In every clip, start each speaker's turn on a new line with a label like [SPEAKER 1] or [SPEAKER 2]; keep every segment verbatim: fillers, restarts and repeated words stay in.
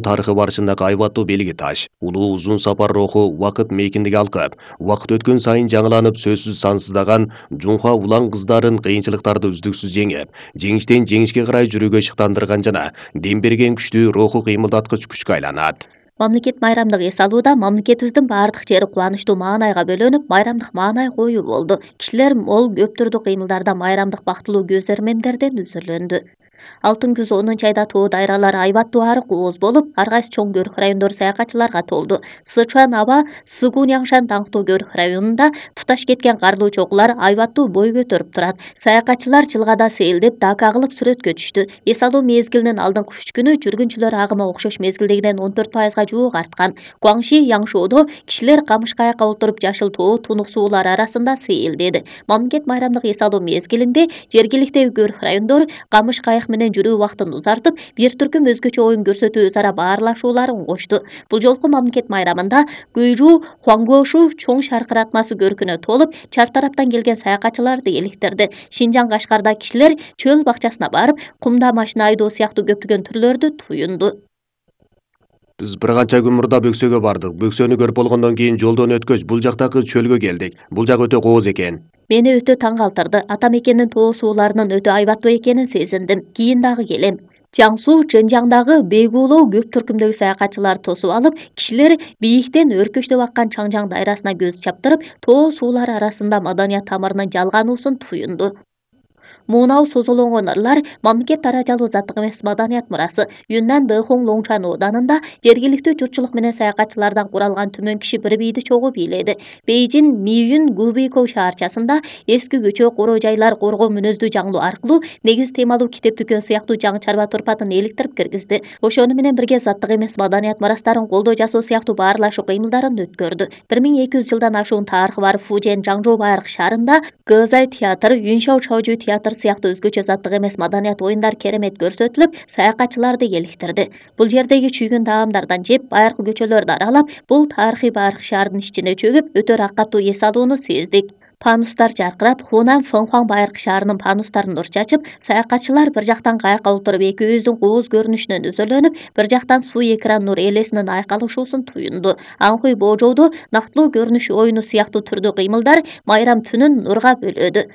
[SPEAKER 1] тарыхы барышындагы айбаттуу белги таш. Улуу узун сапар руху убакыт мейкиндиги алкып, убакыт өткөн сайын жаңыланып сөзсүз сансыздаган Жунха улан кыздарын кыйынчылыктарды үздүксүз жеңип, жеңиштен жеңишке карай жүрүүгө шыктандырган жана дем берген күчтүү руху кыймылдаткыч күчкө айланат.
[SPEAKER 2] Мамлекет майрамдык эс алууда мамлекетибиздин баардык жери кубанычтуу маанайга бөлөнүп, майрамдык маанай коюу болду. Кишилер мол көп түрдүү кыймылдарда майрамдык бактылуу көз эрмемдерден үзүрлөндү. Алтын күз онунчу айда тоо дайралары айбаттуу арык ооз болуп, ар кайсы чоң көрүк райондор саякатчыларга толду. Сычуан аба Сыгуньяңшан даңктуу көрүк районунда туташ кеткен карлуу чокулар айбаттуу бой көтөрүп турат. Саякатчылар жылгада сейилдеп, дака кылып сүрөткө түштү. Эс алуу мезгилинин алдыңкы үч күнү жүргүнчүлөр агымы окшош мезгилдегиден он төрт пайызга жуук арткан. Гуаңши Яңшоодо кишилер камыш каякка отуруп жашыл тоо тунук суулар арасында сейилдеди. Мамлекет майрамдык эс алуу мезгилинде жергиликтеги көрүк райондор камыш каяк менен жүрүү убактын узартып, бир түркүм өзгөчө оюн көрсөтүү өзара баарлашууларын кошту. Бул жолку мамлекет майрамында Гүйжу Хуаңгошу чоң шаркыратмасы көркүнө толуп, чар тараптан келген саякатчыларды электирди. Шинжаң Кашкарда кишилер чөл бакчасына барып, кумда машина айдоо сыяктуу көптөгөн түрлөрдү туюнду.
[SPEAKER 1] Биз бир канча күн мурда Бөксөгө бардык. Бөксөнү көрүп болгондон кийин жолдон өткөч бул жактагы чөлгө келдик. Бул жак өтө кооз экен.
[SPEAKER 2] Мени өтө таң калтырды. Ата мекендин тоо сууларынын өтө айбаттуу экенин сезиндим. Кийин дагы келем. Жаңсу Чжэнжяңдагы Бейгулоо көп түркүмдөгү саякатчылар тосуп алып, кишилер бийиктен өркөчтөп аккан Чаңжаң дайрасына көз чаптырып, тоо суулары арасында маданият тамырынын жалгануусун туюнду. Муунау созолонгон ырлар мамлекет даражалуу заттык эмес маданият мурасы. Юннан Дэхуң Лоңчан ооданында жергиликтүү журтчулук менен саякатчылардан куралган түмөн киши бир бийди чогуу бийледи. Бейжин Мийюн Губейкоу шаарчасында эски көчө, коро жайлар, коргоо мүнөздүү жаңылуу аркылуу негиз темалуу китеп дүкөн сыяктуу жаңы чарба турпатын эликтирип киргизди. Ошону менен бирге заттык эмес маданият мурастарын колдоо жасоо сыяктуу баарлашуу кыймылдарын өткөрдү. бир миң эки жүз жылдан ашуун тарыхы бар Фужен Жаңжоо байыркы шаарында Гэзай театр, Юншау Чаожу театр сыяктуу өзгөчө заттык эмес маданият оюндар керемет көрсөтүлүп, саякатчыларды эликтирди. Бул жердеги чүйгүн таамдардан жеп, байыркы көчөлөрдү аралап, бул тарыхый байыркы шаардын ичине чөгүп, өтө ракаттуу эс алууну сездик. Панустар жаркырап, Хунан Фэнхуаң байыркы шаарынын панустарын нур чачып, саякатчылар бир жактан каякка отуруп экөөбүздүн кооз көрүнүшүнөн өзөлөнүп, бир жактан суу экран нур элесинин айкалышуусун туюнду. Анхуй Божоодо нактылуу көрүнүш оюну сыяктуу түрдүү кыймылдар майрам түнүн нурга бөлөдү.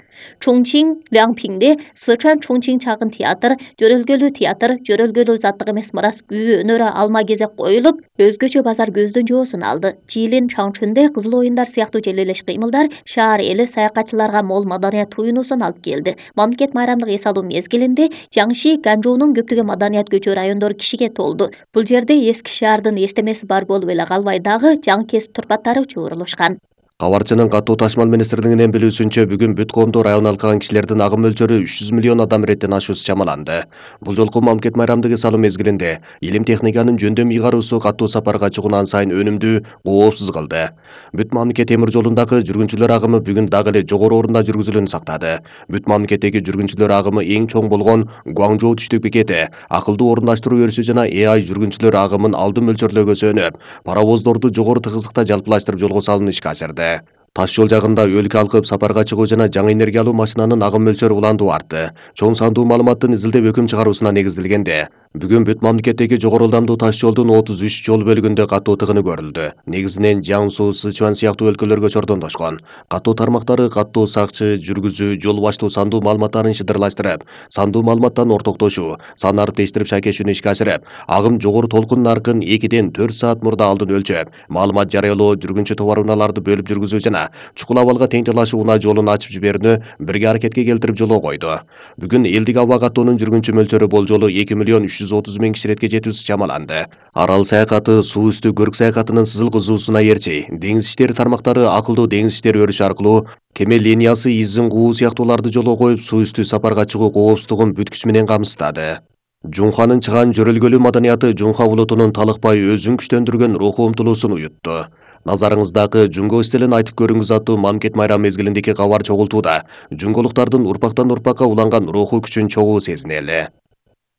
[SPEAKER 2] Чоңчиң Лянпиңде Сычуан Чоңчиң чагын театр, жөрөлгөлүү театр, жөрөлгөлүү заттык эмес мурас күйүү өнөрү алма кезек коюлуп, өзгөчө базар көздүн жоосун алды. Чилин Чаңчүндө кызыл оюндар сыяктуу желелеш кыймылдар шаар эли саякатчыларга мол маданият туюнуусун алып келди. Мамлекет майрамдык эс алуу мезгилинде Жаңши Ганжоонун көптөгөн маданият көчө райондору кишиге толду. Бул жерде эски шаардын эстемеси бар болуп эле калбай дагы жаңы кесип турпаттары чогулушкан.
[SPEAKER 1] Кабарчынын катуу ташмал министрлигинин билүүсүнчө бүгүн бүт коомдо район алкаган кишилердин агым мөлчөрү үч жүз миллион адам иреттен ашуусу чамаланды. Бул жолку мамлекет майрамдык эс алуу мезгилинде илим техниканын жөндөм ыйгаруусу катуу сапарга чыгуунан сайын өнүмдүү, коопсуз кылды. Бүт мамлекет темир жолундагы жүргүнчүлөр агымы бүгүн дагы эле жогору орунда жүргүзүлүүнү сактады. Бүт мамлекеттеги жүргүнчүлөр агымы эң чоң болгон Гуаңжоу түштүк бекети акылдуу орундаштыруу өрүшү жана э ай жүргүнчүлөр агымын алдын мөлчөрлөөгө сөнүп, паровоздорду жогору тыгыздыкта жалпылаштырып жолго салууну ишке ашырды. Таш жол жагында өлкө алкып сапарга чыгуу жана жаңы энергиялуу машинанын агым мөлчөрү уландуу артты. Чоң сандуу маалыматтын изилдеп өкүм чыгаруусуна негизделгенде, бүгүн бүт мамлекеттеги жогору ылдамдуу таш жолдун отуз үч жол бөлүгүндө катуу тыгыны көрүлдү. Негизинен Жаңсу, Сычуан сыяктуу өлкөлөргө чордондошкон. Катуу тармактары катуу сакчы, жүргүзүү, жол баштоо сандуу маалыматтарын шыдырлаштырып, сандуу маалыматтан ортоктошуу, сан ариптештирип шайкешүүнү ишке ашырып, агым жогору толкун наркын экиден төрт саат мурда алдын өлчөп, маалымат жарыялоо, жүргүнчү товар унааларды бөлүп жүргүзүү жана чукул абалга тең талашуу унаа жолун ачып жиберүүнү бирге аракетке келтирип жолго койду. Бүгүн элдик аба каттоонун жүргүнчү мөлчөрү болжолу эки миллион үч жүз отуз миң киширетке жетүүсү чамаланды. Арал саякаты, суу үстү көрүк саякатынын сызыл кызуусуна ээрчи, деңиз иштери тармактары акылдуу деңиз иштери өрүшү аркылуу кеме линиясы, изин куу сыяктууларды жолго коюп, суу үстү сапарга чыгуу коопсуздугун бүт күчү менен камсыздады. Жунханын чыган жөрөлгөлүү маданияты Жунха улутунун талыкпай өзүн күчтөндүргөн руху умтулуусун уютту. Назарыңыздагы Жунго стилин айтып көрүңүз аттуу мамлекет майрам мезгилиндеги кабар чогултууда жунголуктардын урпактан урпакка уланган руху күчүн чогуу сезинели.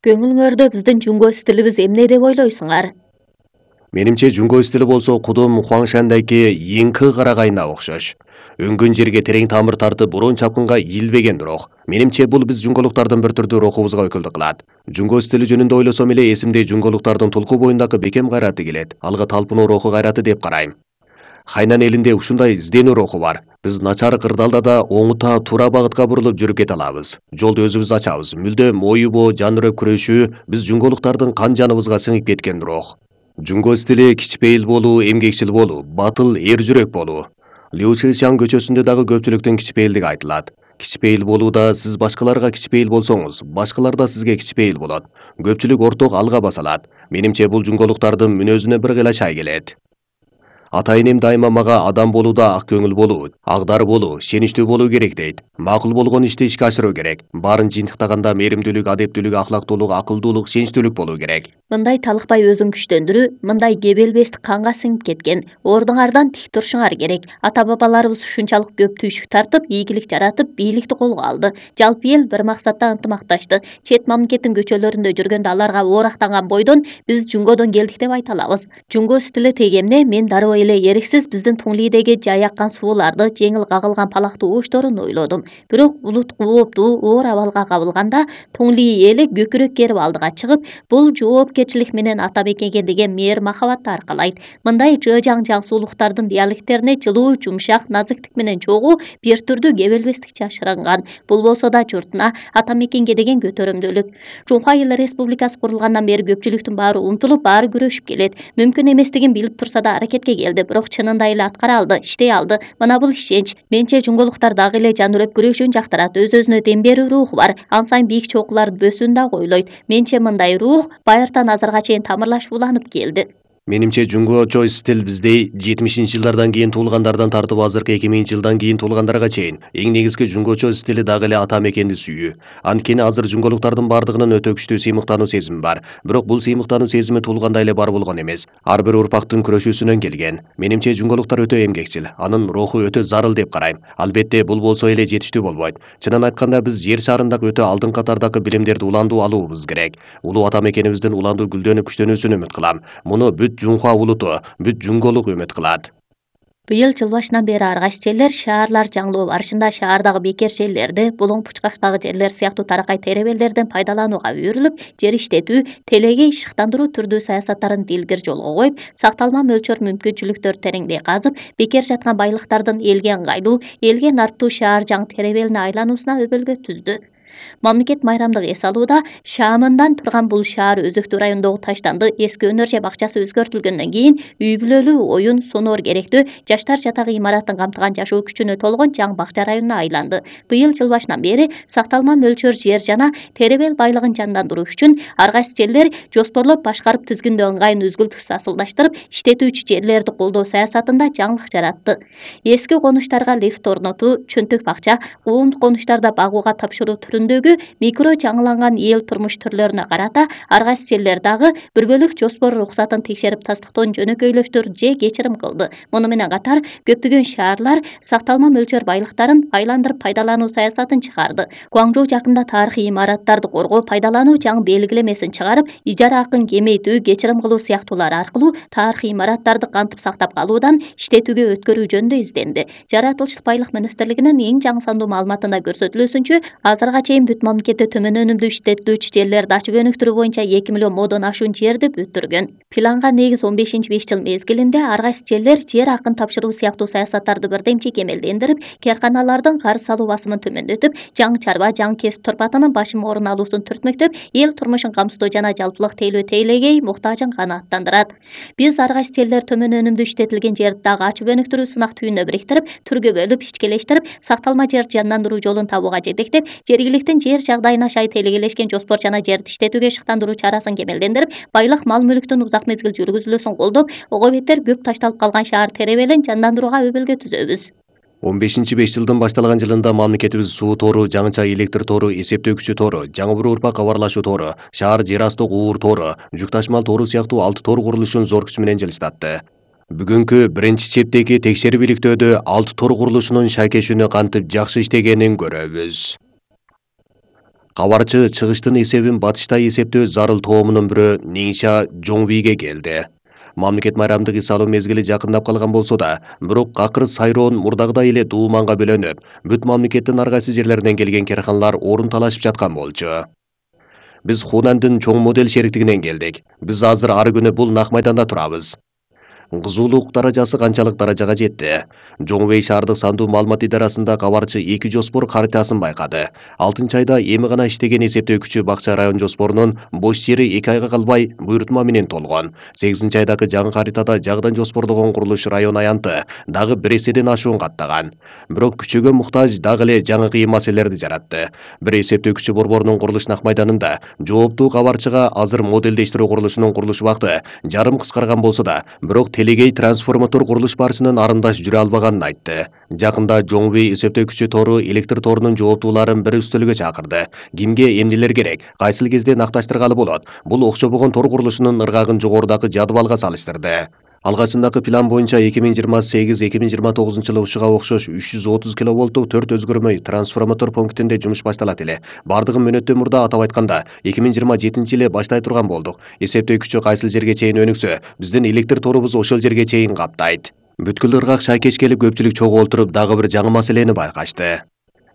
[SPEAKER 2] Көңүлүңөрдө биздин Жунго стилибиз эмне деп ойлойсуңар?
[SPEAKER 1] Менимче жунго стили болсо кудум Хуаңшандайки Йинкы карагайына окшош. Өңгөн жерге терең тамыр тартып бурун чапкынга ийилбеген бирок. Менимче бул биз жунголуктардын бир түрдүү рухубузга өкүлдүк кылат. Жунго стили жөнүндө ойлосом эле эсимде жунголуктардын тулку боюндагы бекем кайраты келет. Алга талпынуу руху кайраты деп карайм. Хайнан элинде ушундай изденүү руху бар. Биз начар кырдаалда да оңута туура багытка бурулуп жүрүп кете алабыз. Жолду өзүбүз ачабыз. Мүлдөм оюбу, жанырып күрөшүү биз жунголуктардын кан жаныбызга сиңип кеткен рух. Жунго стили кичпейил болуу, эмгекчил болуу, батыл, эр жүрөк болуу. Лю Шишан көчөсүндө дагы көпчүлүктүн кичпейилдиги айтылат. Кичпейил болууда сиз башкаларга кичпейил болсоңуз, башкалар да сизге кичпейил болот. Көпчүлүк орток алга баса алат. Менимче бул жунголуктардын мүнөзүнө бир кыйла шай келет. Ата энем дайыма мага адам болууда ак көңүл болуу, агдар болуу, шеничтүү болуу керек дейт. Макул болгон ишти ишке ашыруу керек. Баарын жыйынтыктаганда мээримдүүлүк, адептүүлүк, ахлактуулук, акылдуулук, сеничтүүлүк болуу керек.
[SPEAKER 2] Мындай талыкпай өзүн күчтөндүрүү, мындай кебелбестик канга сиңип кеткен. Ордуңардан тик турушуңар керек. Ата-бабаларыбыз ушунчалык көп түйшүк тартып, ийгилик жаратып, бийликти колго алды. Жалпы эл бир максатта ынтымакташты. Чет мамлекеттин көчөлөрүндө жүргөндө аларга оорактанган бойдон биз жунгодон келдик деп айта алабыз. Жунго стили тегемне мен дароо эле эриксиз биздин Туңлидеги жай аккан сууларды, жеңил кагылган палактуу ушторун ойлодум. Бирок булут кууптуу оор абалга кабылганда Туңли эли көкүрөк керип алдыга чыгып, бул жоопкерчилик менен ата мекенге деген мээр махабатты аркалайт. Мындай жыжаң жаксуулуктардын диалекттерине жылуу, жумшак, назиктик менен чогуу бир түрдүү кебелбестик жашырынган. Бул болсо да журтуна, ата мекенге деген көтөрүмдүүлүк. Жунхва Эл Республикасы курулгандан бери көпчүлүктүн баары умтулуп, баары күрөшүп келет. Мүмкүн эместигин билип турса да аракетке келди, бирок чынында эле аткара алды, иштей алды. Мына бул ишенч. Менче жунголуктар дагы эле жанырып күрөшүүнү жактырат, өз-өзүнө дем берүү руху бар. Ан сайын бийик чокуларды бөсүүнү да ойлойт. Менче мындай рух байыртан азырга чейин тамырлашып уланып келди.
[SPEAKER 1] Менимче жунгочо стил бизде жетимишинчи жылдардан кийин туулгандардан тартып азыркы эки миңинчи жылдан кийин туулгандарга чейин эң негизги жунгочо стили дагы эле ата мекенди сүйүү. Анткени азыр жунголуктардын бардыгынын өтө күчтүү сыймыктануу сезими бар. Бирок бул сыймыктануу сезими туулганда эле бар болгон эмес. Ар бир урпактын күрөшүүсүнөн келген. Менимче жунголуктар өтө эмгекчил, анын руху өтө зарыл деп карайм. Албетте бул болсо эле жетиштүү болбойт. Чынын айтканда биз жер шарындагы өтө алдыңкы катардагы билимдерди уландуу алуубуз керек. Улуу ата мекенибиздин уландуу гүлдөнүп күчтөнүүсүн үмүт кылам. Муну бүт Жунхва улуту, бүт жунголук үмүт кылат.
[SPEAKER 2] Быйыл жыл башынан бери ар кайсы жерлер шаарлар жаңылоо барышында шаардагы бекер жерлерди, булуң пучкактагы жерлер сыяктуу таракай теребелдерден пайдаланууга үйрүлүп, жер иштетүү, телеге ишыктандыруу түрдүү саясаттарын дилгир жолго коюп, сакталма мөлчөр мүмкүнчүлүктөр тереңдей казып, бекер жаткан байлыктардын элге ыңгайлуу, элге нарптуу шаар жаң теребелине айлануусуна өбөлгө түздү. Мамлекет майрамдык эс алууда шаамындан турган бул шаар Өзөктүү районундагы Таштанды эски өнөр же бакчасы өзгөртүлгөндөн кийин үй бүлөлүү, оюн, сонор керектүү жаштар жатагы имаратын камтыган жашоо күчүнө толгон жаң бакча районуна айланды. Быйыл жыл башынан бери сакталма мөлчөр жер жана теребел байлыгын жандандыруу үчүн ар кайсы жерлер жоспорлоп башкарып тизгиндөө ыңгайын үзгүлтүксүз асылдаштырып, иштетүүчү жерлерди колдоо саясатында жаңылык жаратты. Эски конуштарга лифт орнотуу, чөнтөк бакча, коомдук конуштарда багууга тапшыруу түрүндөгү микро жаңыланган эл турмуш түрлөрүнө карата ар кайсы жерлер дагы бир бөлүк жоспор уруксатын текшерип тастыктоон жөнөкөйлөштүр же кечирим кылды. Муну менен катар көптөгөн шаарлар сакталма мөлчөр байлыктарын айландырып пайдалануу саясатын чыгарды. Гуаңжоу жакында тарыхый имараттарды коргоо, пайдалануу жаң белгилемесин чыгарып, ижара акын кемейтүү, кечирим кылуу сыяктуулар аркылуу тарыхый имараттарды кантип сактап калуудан иштетүүгө өткөрүү жөнүндө изденди. Жаратылыштык байлык министрлигинин эң жаңы сандуу маалыматында көрсөтүлүүсүнчө, азырга чейин бүт мамлекетте төмөн өнүмдүү иштетилүүчү жерлерди ачып өнүктүрүү боюнча эки миллион модон ашуун жерди бүттүргөн. Планга негиз он бешинчи беш жыл мезгилинде ар кайсы жерлер жер акын тапшыруу сыяктуу саясаттарды бирдемче кемелдендирип, карканалардын карыз салуу басымын төмөндөтүп, жаң чарба, жаң кесип турпатынын башым орун алуусун түртмөктөп, эл турмушун камсыздоо жана жалпылык тейлөө тейлегей муктажын канааттандырат. Биз ар кайсы жерлер төмөн өнүмдүү иштетилген жерди дагы ачып өнүктүрүү сынак түйүнүнө бириктирип, түргө бөлүп, ичкелештирип, сакталма жер жандандыруу жолун табууга жетектеп, жергиликтин жер жагдайына шай телегелешкен жоспор жана жерди иштетүүгө шыктандыруу чарасын кемелдендирип, байлык мал мүлктүн узак мезгил жүргүзүлүүсүн колдоп, ого бетер көп ташталып калган шаар теребелин жандандырууга өбөлгө түзөбүз.
[SPEAKER 1] он бешинчи беш жылдын башталган жылында мамлекетибиз суу тору, жаңыча электр тору, эсептөөкүчү тору, жаңы бир урпак кабарлашуу тору, шаар жер асты уур тору, жүк ташмал тору сыяктуу алты тор курулушун зор күч менен жылыштатты. Бүгүнкү биринчи чептеги текшерип иликтөөдө алты тор курулушунун шайкешүүнү кантип жакшы иштегенин көрөбүз. Кабарчы чыгыштын эсебин батышта эсептөө зарыл тоомунун бирөө Ниңша Жоңвиге келди. Мамлекет майрамдык эс алуу мезгили жакындап калган болсо да, бирок акыр сайроон мурдагыдай эле дууманга бөлөнүп, бүт мамлекеттин ар кайсы жерлеринен келген керканалар орун талашып жаткан болчу. Биз Хунандын чоң модель шериктигинен келдик. Биз азыр ар күнү бул нак майданда турабыз. Кызуулук даражасы канчалык даражага жетти? Жоңбей шаардык сандуу маалымат идарасында кабарчы эки жоспор картасын байкады. алтынчы айда эми гана иштеген эсептөө күчү Бакча район жоспорунун бош жери эки айга калбай буйрутма менен толгон. сегизинчи айдагы жаңы картада жагдан жоспордогон курулуш район аянты дагы бир эседен ашуун каттаган. Бирок күчөгө муктаж дагы эле жаңы кыйын маселелерди жаратты. Бир эсептөө күчү борборунун курулуш нак майданында жооптуу кабарчыга азыр модельдештирүү курулушунун курулуш убакыты жарым кыскарган болсо да, бирок Телегей трансформатор курулуш барышынан арындаш жүрө албаганын айтты. Жакында Жоңбей эсептөө күчү тору электр торунун жооптууларын бир үстөлгө чакырды. Кимге эмнелер керек, кайсыл кезде накташтыргалы болот? Бул окшобогон тор курулушунун ыргагын жогорудагы жадыбалга салыштырды. Алгачындагы план боюнча эки миң жыйырма сегиз эки миң жыйырма тогузунчу жылы ушуга окшош үч жүз отуз киловолттук төрт өзгөрмөй трансформатор пунктинде жумуш башталат эле. Бардыгын мөөнөттөн мурда атап айтканда эки миң жыйырма жетинчи жылы баштай турган болдук. Эсептөө күчү кайсыл жерге чейин өнүксө, биздин электр торубуз ошол жерге чейин каптайт. Бүткүл ыргак шайкеш келип көпчүлүк чогултуруп дагы бир жаңы маселени байкашты.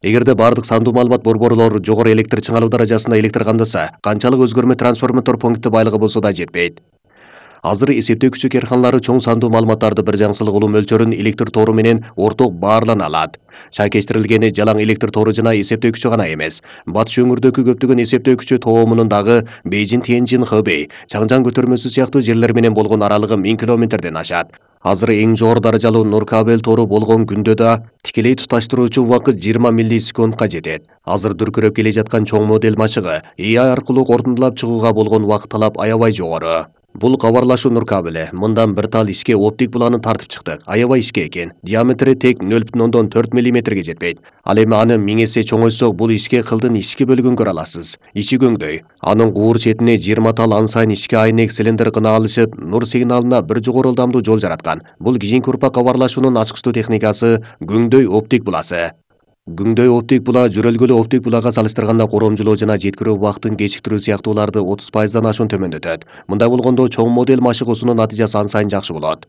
[SPEAKER 1] Эгерде бардык сандуу маалымат борборлору жогору электр чыңалуу даражасында электр камдаса, канчалык өзгөрмө трансформатор пункти байлыгы болсо да жетпейт. Азыр эсептөө күчү керканалары чоң сандуу маалыматтарды бир жаңсылык улуу мөлчөрүн электр тору менен орток баарлана алат. Шайкештирилгени жалаң электр тору жана эсептөө күчү гана эмес. Батыш өңүрдөгү көптөгөн эсептөө күчү тоомунун дагы Бейжин, Тяньжин, Хэбэй, Чаңжан көтөрмөсү сыяктуу жерлер менен болгон аралыгы миң километрден ашат. Азыр эң жогору даражалуу нур кабель тору болгон күндө да тикелей туташтыруучу убакыт жыйырма миллисекундка жетет. Азыр дүркүрөп келе жаткан чоң модель машыгы эй ай аркылуу корутундулап чыгууга болгон убакыт талап аябай жогору. Бул кабарлашуу нур кабели. Мындан бир тал ишке оптик буланы тартып чыктык. Аябай ишке экен. Диаметри тек нөл бүтүн ондон төрт миллиметрге жетпейт. Ал эми аны миң эсе чоңойтсок, бул ишке кылдын ички бөлүгүн көрө аласыз. Ичи көңдөй. Анын куур четине жыйырма тал ан сайын ишке айнек цилиндр кына алышып, нур сигналына бир жогору ылдамдуу жол жараткан. Бул кийинки урпак кабарлашуунун ачкычтуу техникасы күңдөй оптик буласы. Күңдөй оптик була жүрөлгөлүү оптик булага салыштырганда коромжулоо жана жеткирүү убактын кечиктирүү сыяктууларды отуз пайыздан ашуун төмөндөтөт. Мындай болгондо чоң модель машыгуусунун натыйжасы ан сайын жакшы болот.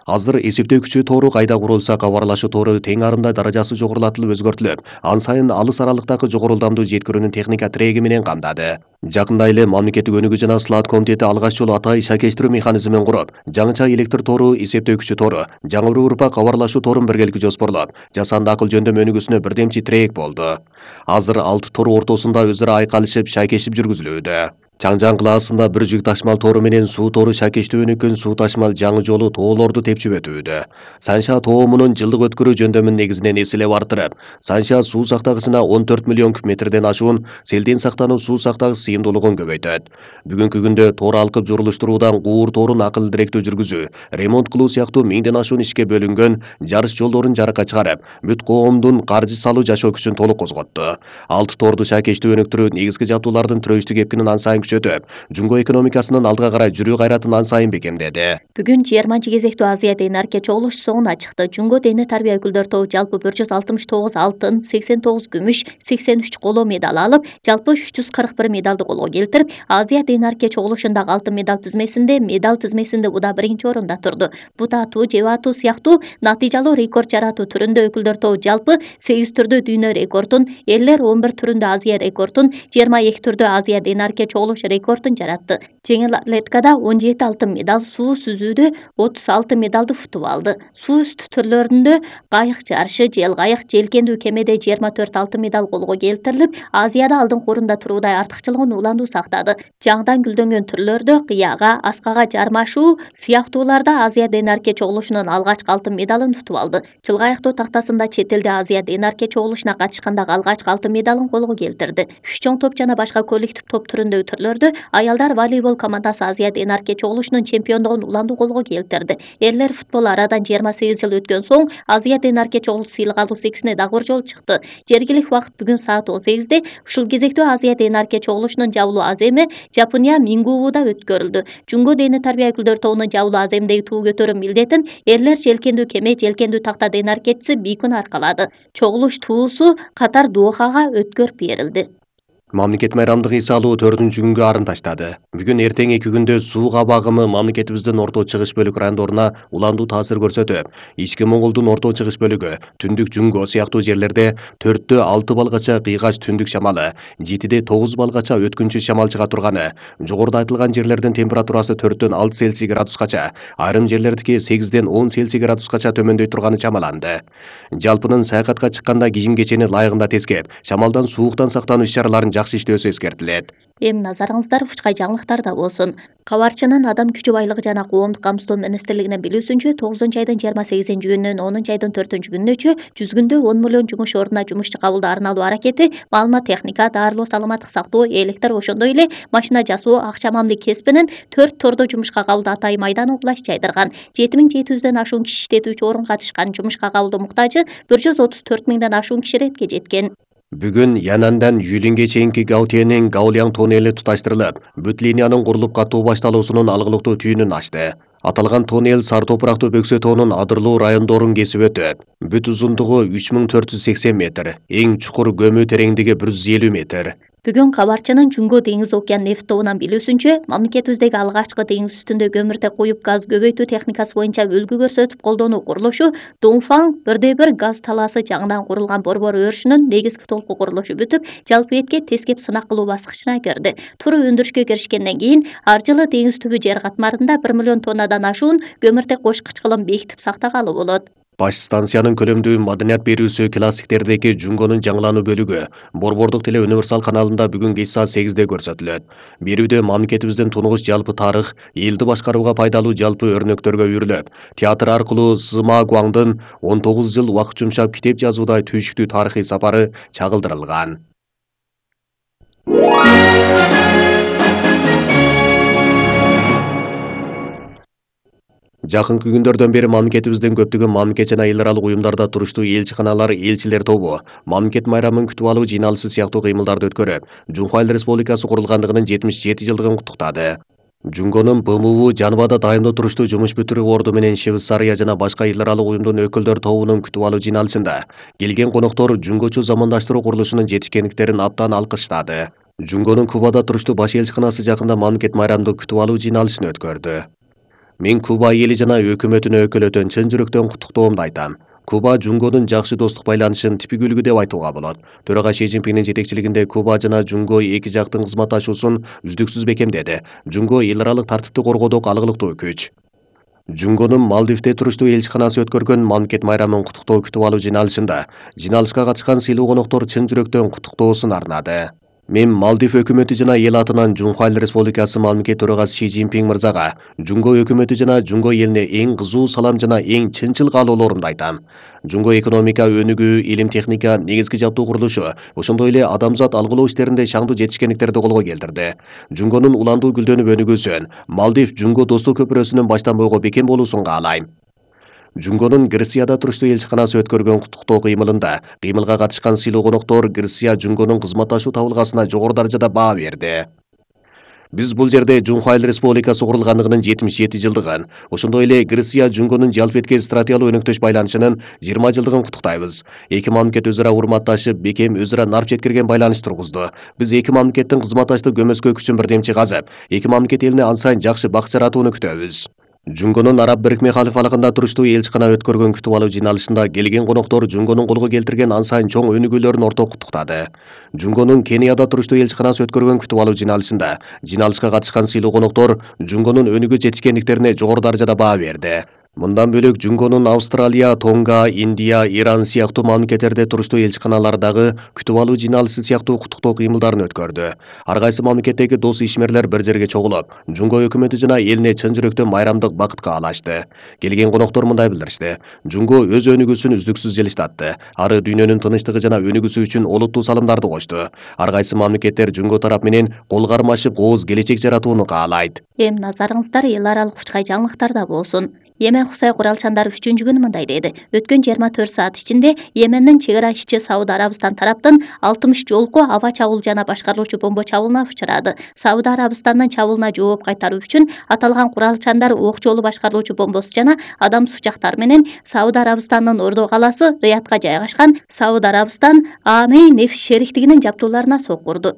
[SPEAKER 1] Азыр эсептөө күчү тору кайда курулса, кабарлашуу тору тең арында даражасы жогорулатылып өзгөртүлүп, ан сайын алыс аралыктагы жогору ылдамдуу жеткирүүнүн техника тиреги менен камдады. Жакында эле мамлекеттик өнүгүү жана слат комитети алгач жолу атай шайкештирүү механизмин куруп, жаңыча электр тору, эсептөө күчү тору, жаңы бир урпак кабарлашуу торун биргеликте жоспорлоп, жасанды акыл жөндөм өнүгүүсүнө бирдемчи тирек болду. Азыр алты тору ортосунда өзара айкалышып, шайкешип жүргүзүлүүдө. Чаңжан кылаасында бир жүк ташмал тору менен суу тору шайкештүү өнүккөн суу ташмал жаңы жолу тоолорду тепчип өтүүдө. Санша тоомунун жылдык өткөрүү жөндөмүн негизинен эселеп артырып, Санша суу сактагычына он төрт миллион куб метрден ашуун селден сактануу суу сактагыч сыйымдуулугун көбөйтөт. Бүгүнкү күндө тор алкып журулуштуруудан куур торун акыл директүү жүргүзүү, ремонт кылуу сыяктуу миңден ашуун ишке бөлүнгөн жарыш жолдорун жаракка чыгарып, бүт коомдун каржы салуу жашоо күчүн толук козготту. Алты торду шайкештүү өнүктүрүү негизги жабдуулардын түрөштүк эпкинин ан сайын күчөтүп, жумго экономикасынын алдыга карай жүрүү кайратын ан сайын бекемдеди.
[SPEAKER 2] Бүгүн жыйырманчы кезектүү Азия ден-арке чогулуш соңуна чыкты. Жумго дене тарбия өкүлдөр тобу жалпы бир жүз алтымыш тогуз алтын, сексен тогуз күмүш, сексен үч коло медаль алып, жалпы үч жүз кырк бир медалды колго келтирип, Азия ден-арке чогулушундагы алтын медаль тизмесинде, медаль тизмесинде уда биринчи орунда турду. Бут атуу, жеп атуу сыяктуу натыйжалуу рекорд жаратуу түрүндө өкүлдөр тобу жалпы сегиз түрдө дүйнө рекордун, эрлер он бир түрүндө Азия рекордун, жыйырма эки түрдө Азия ден-арке чогулуш рекордун жаратты. Жеңил атлетикада он жети алтын медаль, суу сүзүүдө отуз алты медалды футуп алды. Суу үстү түрлөрүндө кайык жарышы, жел кайык, желкендүү кемеде жыйырма төрт алтын медаль колго келтирилип, Азияда алдыңкы орунда туруудай артыкчылыгын улануу сактады. Жаңдан гүлдөнгөн түрлөрдө кыяга, аскага жармашуу сыяктууларда Азия ден-арке чогулушунун алгачкы алтын медалын утуп алды. Чылгайыктоо тактасында чет элде Азия ден-арке чогулушуна катышкандагы алгачкы алтын медалын колго келтирди. Үч чоң топ жана башка коллектив топ түрүндөгү түрлөрдө аялдар волейбол командасы Азия ден-арке чогулушунун чемпиондугун уланду колго келтирди. Эрлер футболу арадан жыйырма сегиз жыл өткөн соң Азия ден-арке чогулуш сыйлык алуу секисине дагы бир жолу чыкты. Жергиликтүү убакыт бүгүн саат он сегизде ушул кезектүү Азия ден-арке чогулушунун жабылуу аземи Жапония Мингууда өткөрүлдү. Жумго дене тарбия өкүлдөр тобунун жабылуу аземдеги туу көтөрүү милдетин эрлер желкендүү кеме, желкендүү такта ден-аркечиси Бийкун аркалады. Чогулуш туусу катар Дохага өткөрүп берилди.
[SPEAKER 1] Мамлекет майрамдык эс алуу төртүнчү күнгө арын таштады. Бүгүн эртең эки күндө суу кабагымы мамлекетибиздин орто чыгыш бөлүк райондоруна уландуу таасир көрсөтүп, ички Монголдун орто чыгыш бөлүгү, түндүк Жүнгө сыяктуу жерлерде төрттө алты балгача кыйгач түндүк шамалы, жетиде тогуз балгача өткүнчү шамал чыга турганы, жогоруда айтылган жерлердин температурасы төрттөн алты Цельсий градускача, айрым жерлердики сегизден он Цельсий градускача төмөндөй турганы чамаланды. Жалпынын саякатка чыкканда кийим кечени ылайыгында тескеп, шамалдан сууктан сактануу иш-чараларын жакшы иштөөсү эскертилет.
[SPEAKER 2] Эми назарыңыздар Учкай жаңылыктарда болсун. Кабарчынын Адам күчү байлыгы жана коомдук камсыздоо министрлигинин билүүсүнчө, тогузунчу айдын жыйырма сегизинчи күнүнөн онунчу айдын төртүнчү күнүнөчө жүз күндө он миллион жумуш ордуна жумушчу кабылдаарын алуу аракети, маалымат техника, даарылоо, саламаттык сактоо, электр, ошондой эле машина жасоо, акча мамиле кесибинин төрт тордо жумушка кабылдоо атайын майданы улаш жайдырган. жети миң жети жүздөн ашуун киши иштетүүчү орун катышкан. Жумушка кабылдоо муктажы бир жүз отуз төрт миңден ашуун киши иретке жеткен.
[SPEAKER 1] Бүгүн Янандан Юлинге чейинки Гаутиянын Гаулияң тоннели туташтырылып, бүт линиянын курулуп катуу башталуусунун алгылыктуу түйүнүн ачты. Аталган тоннел Сар топурактуу Бөксө тоонун Адырлуу райондорун кесип өтөт. Бүт узундугу үч миң төрт жүз сексен метр, эң чукур көмүү тереңдиги бир жүз элүү метр.
[SPEAKER 2] Бүгүн кабарчынын Жүнгө деңиз океан нефт тобунан билүүсүнчө, мамлекетибиздеги алгачкы деңиз үстүндө көмүртек коюп газ көбөйтүү техникасы боюнча үлгү көрсөтүп колдонуу курулушу Дongfang бирде бир газ талаасы жаңыдан курулган борбор өрүшүнүн негизги толку курулушу бүтүп, жалпы этке тескеп сынак кылуу баскычына кирди. Туру өндүрүшкө киришкенден кийин ар жылы деңиз түбү жер катмарында бир миллион тоннадан ашуун көмүртек кошкуч кылым бекитип сактагалы болот.
[SPEAKER 1] Баш станциянын көлөмдүү маданият берүүсү классиктердеги Жүнгөнүн жаңылануу бөлүгү Борбордук теле универсал каналында бүгүн кеч саат сегизде көрсөтүлөт. Берүүдө мамлекетибиздин тунугуч жалпы тарых, элди башкарууга пайдалуу жалпы өрнөктөргө үйрүлөп, театр аркылуу Сыма Гуаңдын он тогуз жыл убакыт жумшап китеп жазуудай түйшүктүү тарыхый сапары чагылдырылган. Жакынкы күндөрдөн бери мамлекетибиздин көптөгөн мамлекет жана эл аралык уюмдарда туруштуу элчиканалар, элчилер тобу мамлекет майрамын күтүп алуу жыйналышы сыяктуу кыймылдарды өткөрүп, Жумху Айыл Республикасы курулгандыгынын жетимиш жети жылдыгын куттуктады. Жүнгөнүн Б М У Жаныбада дайымдуу туруштуу жумуш бүтүрүү орду менен Швейцария жана башка эл аралык уюмдун өкүлдөр тобунун күтүп алуу жыйналышында келген коноктор Жүнгөчү замандаштыруу курулушунун жетишкендиктерин абдан алкыштады. Жүнгөнүн Кубада туруштуу баш элчиканасы жакында мамлекет майрамдык күтүп алуу жыйналышын өткөрдү. Мен Куба эли жана өкмөтүнө өкүлөтөн чын жүрөктөн куттуктоомду айтам. Куба Жүнгөнүн жакшы достук байланышын типик үлгү деп айтууга болот. Төрага Ши Цзиньпиндин жетекчилигинде Куба жана Жүнгө эки жактын кызматташуусун үздүксүз бекемдеди. Жүнгө эл аралык тартипти коргоодогу алгылыктуу күч. Жүнгөнүн Малдивде туруштуу элчиканасы өткөргөн мамлекет майрамын куттуктоо күтүп алуу жыйналышында жыйналышка катышкан сыйлуу коноктор чын жүрөктөн куттуктоосун арнады. Мен Малдив өкмөтү жана эл атынан Жумху Айыл Республикасы мамлекет төрагасы Ши Цзиньпин мырзага, Жүнгө өкмөтү жана Жүнгө элине эң кызуу салам жана эң чынчыл каалоолорумду айтам. Жүнгө экономика өнүгүү, илим техника, негизги жабдуу курулушу, ошондой эле адамзат алгылоо иштеринде шаңдуу жетишкендиктерди колго келтирди. Жүнгөнүн уландуу гүлдөнүп өнүгүүсүн, Малдив Жүнгө достук көпүрөсүнүн баштан бойго бекем болуусун каалайм. Жүнгөнүн Грецияда туруштуу элчиканасы өткөргөн куттуктоо кыймылында кыймылга катышкан сыйлуу коноктор Греция Жүнгөнүн кызматташуу табылгасына жогору даражада баа берди. Биз бул жерде Жумху Айыл Республикасы курулгандыгынын жетимиш жети жылдыгын, ошондой эле Греция Жүнгөнүн жалпы этке стратегиялык өнөктөш байланышынын жыйырма жылдыгын куттуктайбыз. Эки мамлекет өз ара урматташып, бекем өз ара нарп жеткирген байланыш тургузду. Биз эки мамлекеттин кызматташтык көмөскө күчүн бирдемчи казып, эки мамлекет элине ан сайын жакшы бак жаратууну күтөбүз. Жүнгөнүн Араб Бирикме халифалыгында туруштуу элчикана өткөргөн күтүп алуу жыйналышында келген коноктор Жүнгөнүн колго келтирген ан сайын чоң өнүгүүлөрүн орток куттуктады. Жүнгөнүн Кенияда туруштуу элчиканасы өткөргөн күтүп алуу жыйналышында жыйналышка катышкан сыйлуу коноктор Жүнгөнүн өнүгүү жетишкендиктерине жогору даражада баа берди. Мындан бөлөк Жүнгөнүн Австралия, Тонга, Индия, Иран сыяктуу мамлекеттерде туруштуу элчиканалардагы күтүп алуу жыйналышы сыяктуу куттуктоо кыймылдарын өткөрдү. Ар кайсы мамлекеттеги дос ишмерлер бир жерге чогулуп, Жүнгө өкмөтү жана элине чын жүрөктөн майрамдык бакыт каалашты. Келген коноктор мындай билдиришти: Жүнгө өз өнүгүүсүн үздүксүз жылыштатты. Ары дүйнөнүн тынычтыгы жана өнүгүүсү үчүн олуттуу салымдарды кошту. Ар кайсы мамлекеттер Жүнгө тарап менен кол кармашып, ооз келечек жаратууну каалайт.
[SPEAKER 2] Эми назарыңыздар эл аралык Учкай жаңылыктарда болсун. Йемен Хусай куралчандары үчүнчү күнү мындай деди: өткөн жыйырма төрт саат ичинде Йемендин чек ара ишчи Сауд Арабистан тараптан алтымыш жолку аба чабуул жана башкарылуучу бомба чабуулуна учурады. Сауд Арабистандын чабуулуна жооп кайтаруу үчүн аталган куралчандар ок жолу башкарылуучу бомбосу жана адам сучактары менен Сауд Арабистандын Ордо калаасы Риядка жайгашкан Сауд Арабистан Амей нефт шериктигинин жабдууларына соккурду.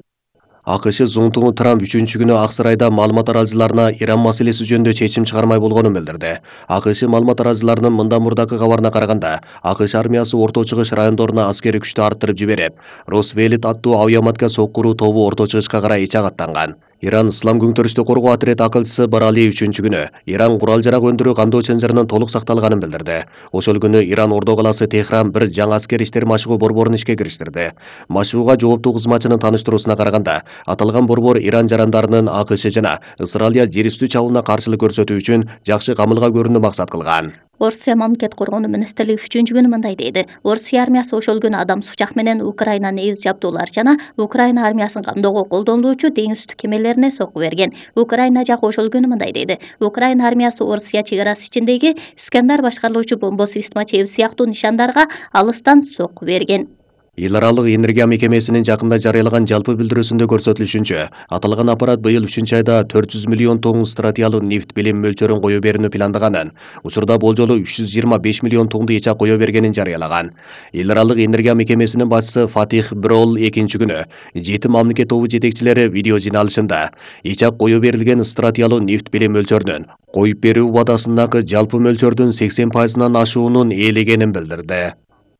[SPEAKER 1] АКШ зуңтуңу Трамп үчүнчү күнү Ак Сарайда маалымат аралжыларына Иран маселеси жөнүндө чечим чыгармай болгонун билдирди. АКШ маалымат аралжыларынын мындан мурдакы кабарына караганда, АКШ армиясы Орто Чыгыш райондоруна аскерий күчтү арттырып жиберип, Росвелит аттуу авиаматка соккуруу тобу Орто Чыгышка карай ичак аттанган. Иран Ислам күңтөрүштү коргоо отряд акылчысы Барали үчүнчү күнү Иран курал-жарак өндүрүү кандоо чынжырынын толук сакталганын билдирди. Ошол күнү Иран Ордо калаасы Техран бир жаңы аскер иштер машыгуу борборун ишке кириштирди. Машыгууга жооптуу кызматчынын таныштыруусуна караганда, аталган борбор Иран жарандарынын АКШ жана Исраилия жер үстү чабуулуна каршылык көрсөтүү үчүн жакшы камылга көрүүнү максат кылган.
[SPEAKER 2] Орусия мамлекет коргоонуу министрлиги үчүнчү күнү мындай дейди. Орусия армиясы ошол күнү адам сучак менен Украина нейз жабдуулар жана Украина армиясын камдоого колдонулуучу деңиз үстү кемелерине сокку берген. Украина жагы ошол күнү мындай дейди. Украина армиясы Орусия чек арасы ичиндеги Искандар башкарылуучу бомба система чеби сыяктуу нишандарга алыстан сокку берген.
[SPEAKER 1] Эл аралык энергия мекемесинин жакында жарыялаган жалпы билдирүүсүндө көрсөтүлүшүнчө, аталган аппарат быйыл үчүнчү айда төрт жүз миллион тонн стратиялуу нефть билим мөлчөрүн кое берүүнү пландаганын, учурда болжолу үч жүз жыйырма беш миллион тоннду ичак кое бергенин жарыялаган. Эл аралык энергия мекемесинин башчысы Фатих Брол экинчи күнү жети мамлекет тобу жетекчилери видео жыйналышында ичак кое берилген стратиялуу нефть билим мөлчөрүнүн коюп берүү убадасындагы жалпы мөлчөрдүн сексен пайызынан ашуунун ээлегенин билдирди.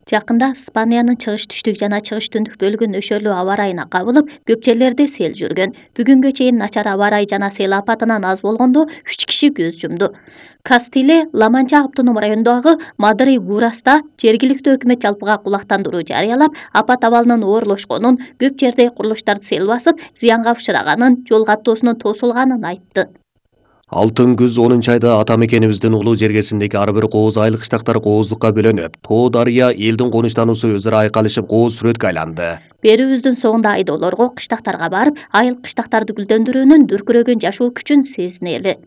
[SPEAKER 2] Жакында Испаниянын чыгыш түштүк жана чыгыш түндүк бөлүгүн өшөлүү аба ырайына кабылып, көп жерлерде сел жүргөн. Бүгүнгө чейин начар аба ырай жана сел апатынан аз болгондо үч киши көз жумду. Кастиле Ла-Манча автоном районундагы Мадри Гураста жергиликтүү өкмөт жалпыга кулактандыруу жарыялап, апат абалынын оорлошконун, көп жерде курулуштарды сел басып, зыянга учураганын, жол каттоосунун тосулганын айтты.
[SPEAKER 1] Алтын күз онунчу айда ата мекенибиздин улуу жергесиндеги ар бир кооз айыл кыштактар кооздукка бөлөнүп, тоо дарыя элдин конуштануусу өзүрө айкалышып кооз сүрөткө айланды.
[SPEAKER 2] Берүүбүздүн соңунда айдоолорго, кыштактарга барып, айыл кыштактарды гүлдөндүрүүнүн дүркүрөгөн жашоо күчүн сезинели.